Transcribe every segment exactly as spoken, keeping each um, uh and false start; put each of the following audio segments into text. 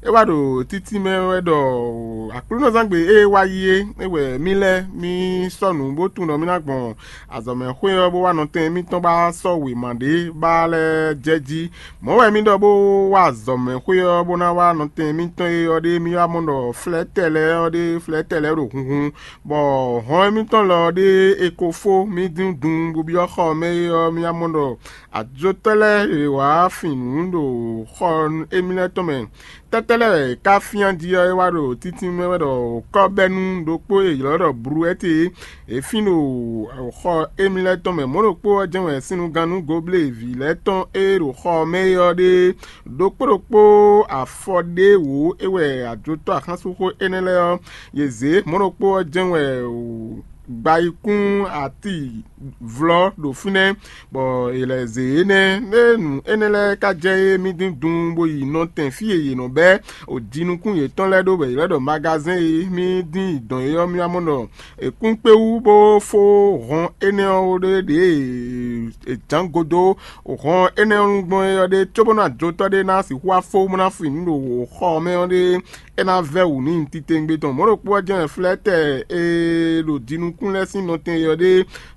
É wá ɖo títí mɛ wɛ ɖɔ Aklúnɔzángbe e wá yi é, é wɛ mì lɛ́ mì sɔ́ nǔ bó tunwun ɖɔ mì ná gbɔn azɔ̌mɛxwé ɔ́ bó wá nɔtɛn mítɔn ba sɔ́ wěma ɖé ba lɛ́ɛ jɛ jí. Mɔ̌ wɛ mì ɖɔ bó wá azɔ̌mɛxwé ɔ́ bó ná wá nɔtɛn mítɔn e ɔ́ ɖé mì wá mɔ ɖɔ flɛ́tɛ́ lɛ́ɛ ɔ́ ɖé flɛ́tɛ́ lɛ́ɛ ɖo hunhun, bɔ hɔn émítɔn lɔ ɔ́ ɖé è ko fó mì dín dun bó byɔ́ xɔ ɔ́ mɛ é ɔ́, mì wá mɔ ɖɔ ajotɔ́ lɛ́ɛ e wǎ fin nǔ ɖo xɔ émí lɛ́ɛ tɔn mɛ. Tɛ́tɛ́ lɛ́ɛ wɛ è ká fyán jí ɔ́, é wá ɖo títí mɛ wɛ ɖɔ kɔ́bɛ́nú ɖokpó e è ylɔ́ ɖɔ Bluwɛ́ti é, è fín ɖo xɔ émí lɛ́ɛ tɔn mɛ. Mɔ̌ ɖokpó ɔ́ jɛ́n wɛ sinnugannú goblé vǐ lɛ́ɛ tɔn e ɖo xɔ ɔ́ mɛ é ɔ́ ɖe ɖokpó ɖokpó afɔ ɖé wǒ é wɛ ajotɔ́ axánsúnxó énɛ́ lɛ́ɛ ɔ́, yě zě. Mɔ̌ ɖokpó ɔ́ jɛ́n wɛ gbayikún ati vlɔ́ ɖo fínɛ́, bɔ è lɛ̌ zě énɛ́. Ée nǔ énɛ́ lɛ́ɛ ka jɛ é mì dín dun bó yi nɔtɛn fí e yě nɔ bɛ́ jinukún yětɔn lɛ́ɛ ɖó bɔ è lɛ́ ɖɔ magazɛ́n e mì dín yi dɔn é ɔ́, mì wá mɔ ɖɔ è kún kpé wú bó fó hɔn énɛ́ ɔ́ ɖé ɖě è jǎn godó hɔn énɛ́ ɔ́ gbɔn é ɔ́ ɖé, cóbónú ajotɔ́ ɖé ná sixú wá fó bó ná fin nǔ ɖo xɔ ɔ́ mɛ ɔ́ ɖé, é ná vɛ́ wǔ n'i titewungbe tɔn. Mɔ̌ ɖokpó ɔ́ jɛ́n wɛ flɛ́tɛ́ e ɖo jinukún lɛ́ɛ sín nɔtɛn e ɔ́ ɖé,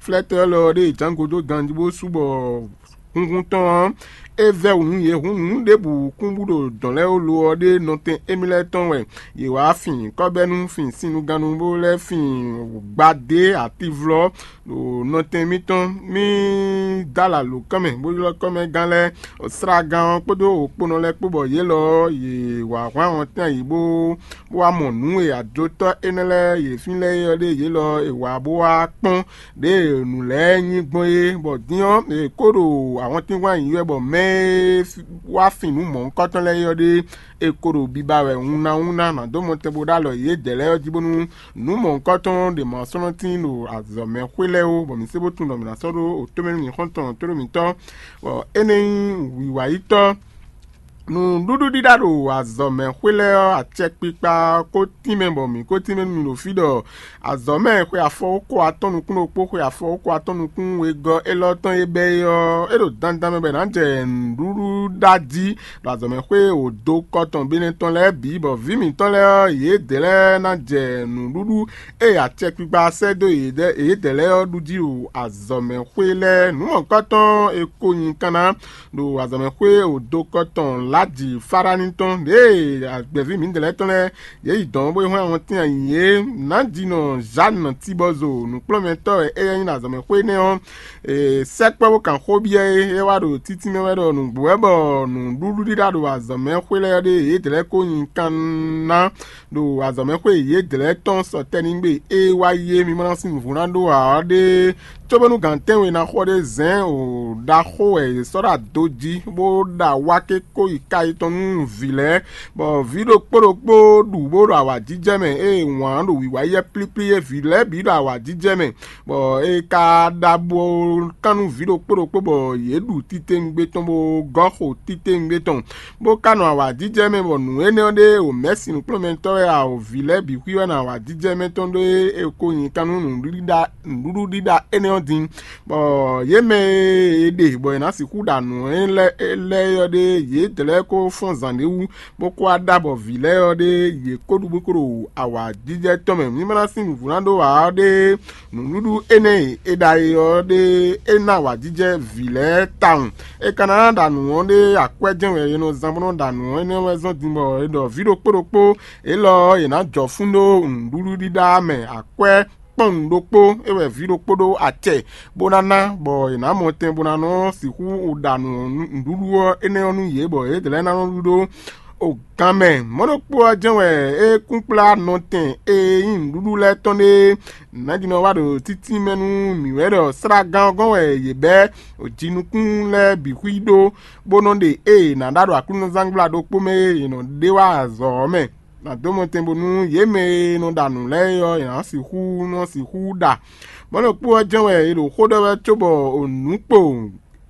flɛ́tɛ́ élɔ́ ɔ́ ɖé è jǎn godó ganjí bó sú bɔ hunhun tɔn ɔ́, é vɛ́ wǔ nú yě. Hǔn nǔ ɖěbǔ kún bú ɖo dɔ̌n lɛ́ɛ wú lo ɔ́ ɖé nɔtɛn émí lɛ́ɛ tɔn wɛ yě wá fin kɔ́bɛ́nú, fin sinnugannú bó lɛ́ fin gbadé ativlɔ́ ɖo nɔtɛn mitɔn. Mì dó alǎ lǒ kɔ́ mɛ, bó ylɔ́ kɔ́mɛgán lɛ́ɛ, slágán ɔ́ kpódó wokpónɔ lɛ́ɛ kpó, bɔ yě lɔ ɔ́, yě wǎ hwlán wɔntín ayǐ bó wá mɔ nǔ e ajotɔ́ énɛ́ lɛ́ɛ yě fínlɛ́ é ɔ́ ɖe yě lɔ è wǎ bó wá kpɔ́n ɖěe nǔ lɛ́ɛ nyí gbɔn é, bɔ din ɔ́, è kó ɖo awɔntín hwlán ayǐ wɛ, bɔ mɛ e wá fin nǔ mɔ̌hunkɔtɔn lɛ́ɛ é ɔ́ ɖe, è ko ɖo biba wɛ wunna wunna ná dó mɔtɛn bó ɖó alɔ yědɛɛ lɛ́ɛ ɔ́ jí, bónú nǔ mɔ̌hunkɔtɔn ɖě ma sɔ́ nɔ tíin ɖo azɔ̌ mɛ xwé lɛ́ɛ ó, bɔ mǐ sé bó tunwun ɖɔ mǐ ná sɔ́ ɖó otó mɛ nú mǐ xɔ́ntɔn tó ɖo mǐtɔn, bɔ énɛ́ nyí wǐwáyítɔ́. Nǔɖuɖu ɖíɖá ɖo azɔ̌ mɛ xwé lɛ́ɛ ɔ́, acɛkpikpa ɔ́ ko tínmɛ bɔ mǐ ko tínmɛ nú mi ɖo fí ɖɔ azɔ̌ mɛ xwe afɔwókó atɔ́ nukún ɖokpó, xwe afɔwókó atɔ́ nukún wegɔ́ élɔ́ tɔn e bɛ́ é ɔ́, é ɖo dandan mɛ bɔ è nǎ jɛ nǔɖuɖu ɖá jí ɖo azɔ̌ mɛ xwé wǒ dó kɔ tɔn Benɛ́ tɔn lɛ́ɛ bǐ, bɔ vǐ mǐtɔn lɛ́ɛ ɔ́, yědɛɛ lɛ́ɛ ná jɛ nǔɖuɖu e acɛkpikpa sɛ́ dó yědɛɛ lɛ́ɛ ɔ́ ɖu jí ɖo azɔ̌ mɛ xwé lɛ́ɛ. Nǔ mɔ̌hunkɔtɔn e ko nyi kanna ɖo azɔ̌mɛxwé wǒdokɔ tɔn Ladi Farani tɔn, ɖěe agbɛ̌ví mǐdɛɛ lɛ́ɛ tɔn lɛ́ɛ yě yi dɔ̌n bó yi hwlɛ́n awɔntín ayǐ é, nǎjinɔ Zǎnu Tibɔzo nǔkplɔ́nmɛtɔ́ wɛ éyɛ́ nyí ɖo azɔ̌mɛxwé énɛ́ ɔ́, è sɛkpɔ́ bó kan xó byɔ́ é. É wá ɖo títí mɛ wɛ ɖɔ nǔgbó wɛ bɔ nǔɖuɖu ɖíɖá ɖo azɔ̌mɛxwé lɛ́ɛ ɖe yě dlɛ́ ko nyi kan ná ɖo azɔ̌mɛxwé yědɛɛ lɛ́ɛ tɔn sɔtɛ́nigbe e wá yi é. Mi ma ná sín nǔvú ná ɖó ǎ ɔ́ ɖé, cóbónú gǎn tɛ́nwe ná xɔ ɖé zɛ̌n o ɖaxó wɛ è sɔ́ ɖo ado jí, bó ɖo awáké kó yi ka yětɔn nú vǐ lɛ́ɛ, bɔ vǐ ɖokpó ɖokpó ɖu bó ɖo awǎjijɛ mɛ, ée wǎn ɖo wǐwá yɛ plíplí é, vǐ lɛ́ɛ bǐ ɖo awǎjijɛ mɛ, bɔ è ka ɖa bo kán nú vǐ ɖokpó ɖokpó, bɔ yě ɖu titewungbe tɔn bó gɔ́ xo titewungbe tɔn, bó ka nɔ awǎjijɛ mɛ, bɔ nǔ énɛ́ ɔ́ ɖe o mɛ̌si nǔkplɔ́nmɛtɔ́ wɛ a o vǐ lɛ́ɛ bǐ xwí wɛ nɔ awǎjijɛ mɛ tɔn ɖó é ko nyi kan nú nǔɖuɖu ɖíɖá énɛ́ ɔ́ din, bɔ yě mɛ e è ɖe bɔ è nǎ sixú ɖa nǔ lɛ́ɛ é ɔ́ ɖe, yě dlɛ́ ko fɔ́n zǎn ɖé wú, bó ko wá ɖa bɔ vǐ lɛ́ɛ ɔ́ ɖe yě ko ɖu bó ko ɖo awǎjijɛ tɔn mɛ. Mi ma ná sín nǔvú ná ɖó ǎ ɔ́ ɖe, nǔɖuɖu énɛ́ e è ɖa e ɔ́ ɖe é ná awǎjijɛ vǐ lɛ́ɛ tawun. È ka ná ɖa nǔ ɔ́ ɖe akwɛ́ jɛ́n wɛ è nɔ zán bó nɔ́ ɖa nǔ ɔ́, énɛ́ wɛ zɔ́n din bɔ è ɖɔ vǐ ɖokpó ɖokpó élɔ́ ɔ́, è nǎ jɔ fún ɖó nǔɖuɖu ɖíɖá mɛ akwɛ́ kpɔ́n nǔ ɖokpó é wɛ vǐ ɖokpó ɖó acɛ bó ná ná, bɔ è nǎ mɔ tɛn bó ná nɔ sixú ɖa nǔ nǔɖuɖu ɔ́ énɛ́ ɔ́ nú yě, bɔ yě lɛ́ɛ ná nɔ ɖu ɖó o gan mɛ. Mɔ̌ ɖokpó ɔ́ jɛ́n wɛ é kún kplá nɔtɛn e nyí nǔɖuɖu lɛ́ɛ tɔn ɖe nǎjínɔ wá ɖo títí mɛ nú mǐ wɛ ɖɔ slágán ɔ́ gɔ́n wɛ yě bɛ́ jinukún lɛ́ɛ bǐ xwí ɖó, bó nɔ́ ɖe ée è nǎ ɖa ɖo aklúnɔzángbla ɖokpó mɛ e è nɔ ɖe wá azɔ̌ ɔ́ mɛ. Nǎ dó mɔtɛn bónú yě mɛ e nɔ ɖa nǔ lɛ́ɛ é ɔ́, è nǎ sixú nɔ sixú ɖa. Mɔ̌ ɖokpó ɔ́ jɛ́n wɛ è ɖo xó ɖɔ wɛ cóbɔ nǔ kpo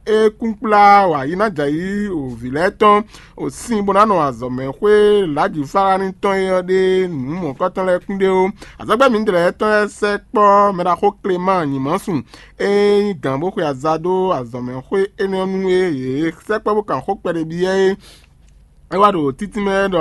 é kún kplá wǎ yi ná jɛ ayǐ o vǐ lɛ́ɛ tɔn o sin bó ná nɔ azɔ̌mɛxwé Ladi Falani tɔn é ɔ́ ɖe nǔ mɔ̌kɔtɔn lɛ́ɛ kún ɖe ó. Azɔ̌gbɛ́ mǐdɛɛ lɛ́ɛ tɔn lɛ́ɛ sɛkpɔ́ mɛɖaxó Klemáa nyǐmɔ́sun e nyí gǎn bó xwe aza dó azɔ̌mɛxwé énɛ́ ɔ́ nú é yě sɛkpɔ́ bó kan xó kpɛɖé byɔ́ é. É wá ɖo títí mɛ ɖɔ